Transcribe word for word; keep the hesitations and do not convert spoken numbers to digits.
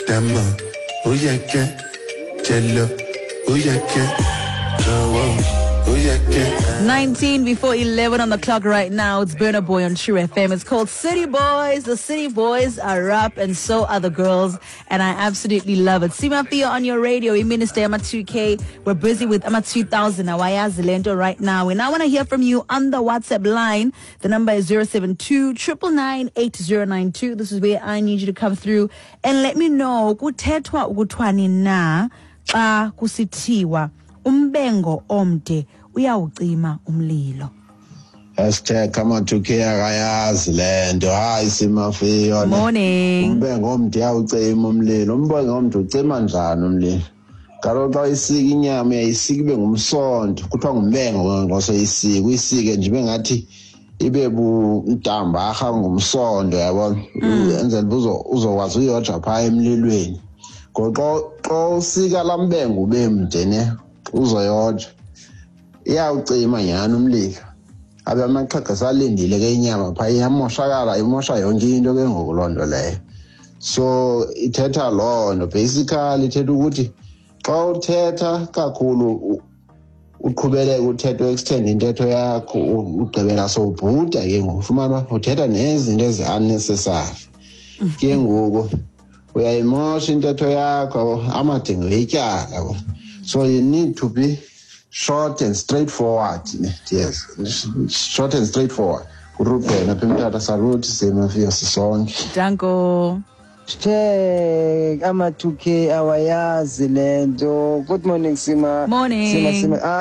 Dàmọ̀, ó yẹ kẹ́ jẹ lọ, ó yẹ kẹ́ jọ̀wọ́, ó yẹ kẹ́. nineteen before eleven on the clock right now. It's Burna Boy on True F M. It's called City Boys. The City Boys are up and so are the girls. And I absolutely love it. Simafia on your radio. We Minister Ama two K. We're busy with Ama two thousand. Awayazi lento right now. And I wanna hear from you on the WhatsApp line. The number is zero seven two, triple nine, eight zero nine two. This is where I need you to come through and let me know. Kuthethwa ukuthwani na xa kusithiwa umbengo omde uyawucima umlilo. Hashtag ama two K akayazi le nto. Hayi Simafiyo. Morning. Umbengo omde uyawucima umlilo. Umbengo omde ucima njani umlilo? Kaloku xa uyisika inyama uyayisika ibe ngumsonto. Kuthiwa ngumbengo xa soyisika. Uyisike nje ibe ngathi ibe bumdambarha ngumsonto, yabona? Mm. Enzela uba uzo-, uzokwazi uyoja phaa emlilweni. Ngoxa xa usika laa mbengo ube mde ne, uzoyoja. Iyawucima nyhani umlilo. Abe amaxhego esalindile ke inyama phaa, iyamoshakala, imosha yonke into ke ngoku loo nto leyo. So ithetha loo nto. Basically ithetha ukuthi xa uthetha kakhulu u-, uqhubeleke uthethe, u-extend intetho yakho, u-, ugqibela sowubhuda ke ngoku. Ufumana uba uthetha nezinto ezi-unnecessary. Ke ngoku uyayimosha intetho yakho, amadingo etyala, yabo. So you need to be short and straightforward. Yes, short and straightforward. Uruben apha eMthatha, salute Simafiyo sisonke. Danko. Check ama two K awayazi le nto. Good morning Sima. Morning. Sima, Sima. Ah,